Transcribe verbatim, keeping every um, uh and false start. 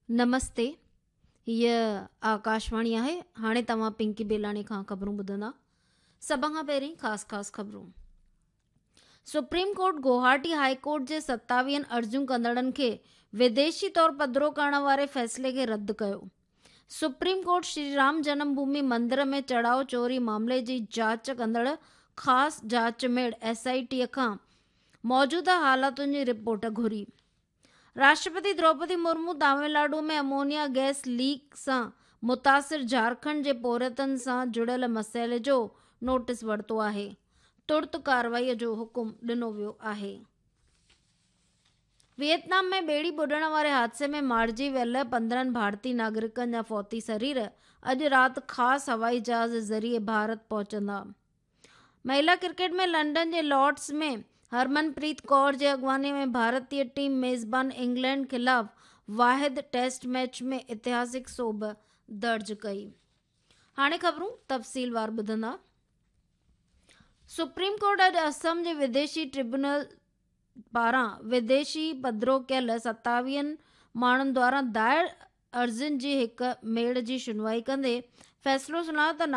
نمستي، هيء آڪاشواڻي آهي. هاڻي توهان پنڪي بيلاڻي کان خبرون ٻڌندا. سڀ کان پهرين خاص خاص خبرون. Supreme court Guwahati high court جي ستاويهن عرضيون ڪندڙن کي وديشي طور پڌرو ڪرڻ واري فيصلي کي رد ڪيو. سپريم ڪورٽ شري رام جنم ڀومي مندر ۾ چڙهاءُ چوري معاملي جي جاچ ڪندڙ خاص جاچ ميڙ ايس I ٽي کان موجوده حالتن جي رپورٽ گهري. Rashtrapati Droupadi Murmu Tamil Nadu ۾ ammonia gas leak سان متاثر جهارکنڊ جي پورهيتن سان جڙيل مسئلي جو نوٽيس ورتو آهي. ترت ڪارروائي جو حڪم ڏنو ويو آهي. ويٽنام ۾ ٻيڙي ٻڏڻ واري حادثي ۾ مارجي ويل پندرهن ڀارتي ناگرڪن جا فوتي سرير اڄ رات خاص هوائي جهاز ذريعي ڀارت پهچندا. مهلا ڪرڪيٽ ۾ لنڊن جي لارڊز ۾ هرمنپريت ڪور جي اڳواڻي ۾ ڀارتي ٽيم ميزبان انگلينڊ خلاف واحد ٽيسٽ ميچ ۾ اتهاسڪ سوڀ درج ڪئي. هاڻي خبرون تفصيلوار ٻڌندا. سپريم ڪورٽ اڄ اسم جي وديشي ٽربيونل پاران وديشي پڌرو ڪيل ستاويهن ماڻهن دواران دائر عرضين جي هڪ ميڙ جي شنوائي ڪندي فيصلو سڻايو ته